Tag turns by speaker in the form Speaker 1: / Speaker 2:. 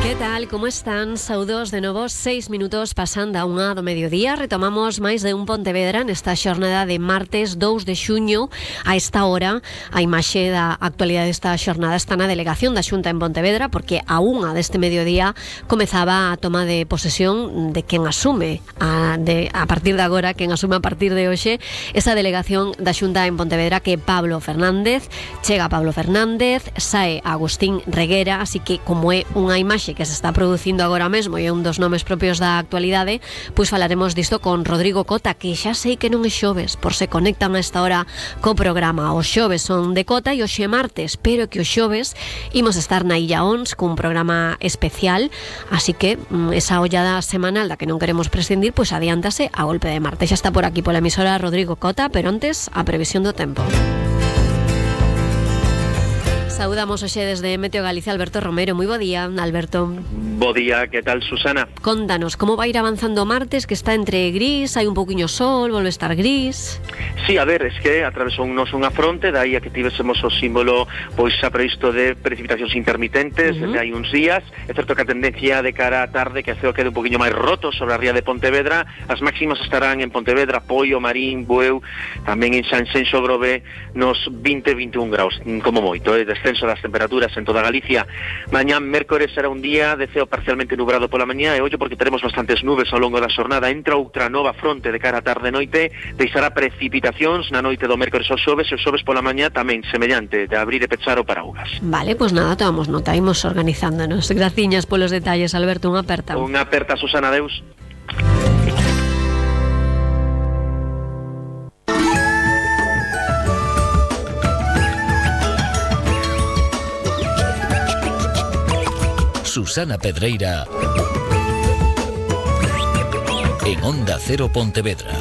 Speaker 1: Que tal, como están? Saudos de novo, 6 minutos pasando a unha do mediodía. Retomamos máis de un Pontevedra nesta xornada de martes 2 de xuño. A esta hora, a imaxe da actualidade desta xornada está na delegación da Xunta en Pontevedra, porque a unha deste mediodía comezaba a toma de posesión de quen asume a partir de agora, quen asume a partir de hoxe esa delegación da Xunta en Pontevedra, que é Pablo Fernández. Chega Pablo Fernández, sae Agustín Reguera, así que como é unha imaxe que se está producindo agora mesmo e é un dos nomes propios da actualidade, pois falaremos disto con Rodrigo Cota, que xa sei que non é xoves, por se conectan a esta hora co programa. Os xoves son de Cota e hoxe é martes, pero que os xoves imos estar na Illa Ons cun programa especial, así que esa ollada semanal da que non queremos prescindir, pois adiántase a golpe de martes. Xa está por aquí pola emisora Rodrigo Cota, pero antes a previsión do tempo. Saudamos hoxe desde Meteo Galicia Alberto Romero. Moi bo día, Alberto.
Speaker 2: Bo día, que tal, Susana?
Speaker 1: Contanos, como vai ir avanzando o martes, que está entre gris, hai un poquinho sol, volve a estar gris?
Speaker 2: Sí, a ver, es que atravesounos unha fronte, dai a que tivésemos o símbolo pois xa previsto de precipitacións intermitentes desde hai uns días. É certo que a tendencia de cara á tarde que a ceo quede un poquinho máis roto sobre a ría de Pontevedra. As máximas estarán en Pontevedra, Poio, Marín, Bueu, tamén en Sanxenxo, Grove, nos 20-21 graus, como moito, descenso das temperaturas en toda Galicia. Mañán, mércores, será un día de ceo parcialmente nubrado pola mañá, e ollo porque teremos bastantes nubes ao longo da xornada. Entra outra nova fronte de cara á tarde e noite, deixará precipitacións na noite do mércores ao xoves, e o xoves pola mañá tamén semellante, de abrir e pechar o paraugas.
Speaker 1: Vale, pois nada, tomamos nota, imos organizándonos. Graciñas polos detalles, Alberto, unha aperta.
Speaker 2: Unha aperta, Susana, adeus.
Speaker 3: Susana Pedreira en Onda Cero Pontevedra.